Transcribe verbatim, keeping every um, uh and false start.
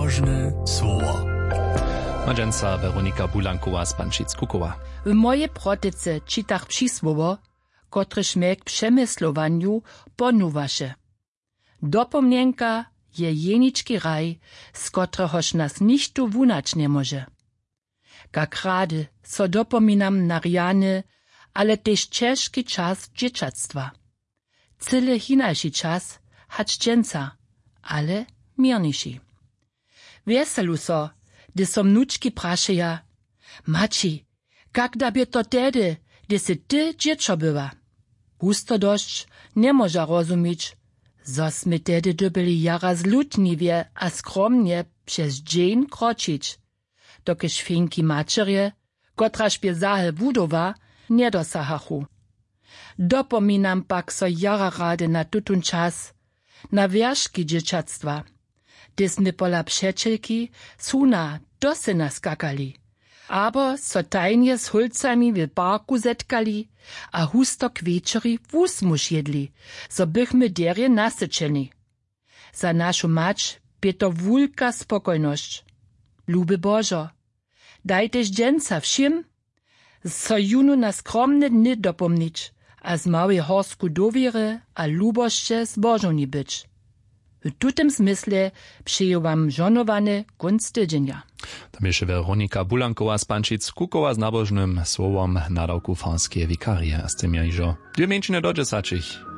Nabožne słowo. Ma dźensa Weronika Bulankowa z Pančic kukowa. W mojej protece čitach přisłowo, kotrež mje k přemyslowanju ponuwaše. Dopomnjenka je jenički hraj, z kotrehož nas nichtó wunać njemóže. Kak rady so dopominam na rjany, ale tež ćežki čas dźěćatstwa. Cyle hinaši čas hač dźensa, ale měrniši. Wjeselu so, hdy so mnučki prašeja: Maći, kak da bě to tehdy, hdy sy ty dźěćo była? Husto dosć njemóža rozumić, zo smy tehdy dyrbjeli jara zlutniwje a skromnje přez dźeń kročić, dokelž finki maćerje, kotraž bě zahe wudowa, njedosahachu. Dopominam pak so jara rady na tutón čas, na wjerški dźěćatstwa, hdy smy pola přećelki suna do syna skakali, abo so tajnje z hólcami w parku zetkali a husto k wječori wusmuž jědli, zo bychmy derje nasyćeni. Za našu mać bě to wulka spokojnosć. Luby Božo, daj tež dźensa wšěm, so jónu na skromne dny dopomnić a z małej horsku dowěry a lubosće zbožowni być. W tutym zmysle přeju wam žohnowany kónc tydźenja. To běše Weronika Bulankowa z Pančic kukowa z nabožnym słowom nadawku farskeje wikarije a z tym ja hižo dwě mjeńšiny do dźesaćich.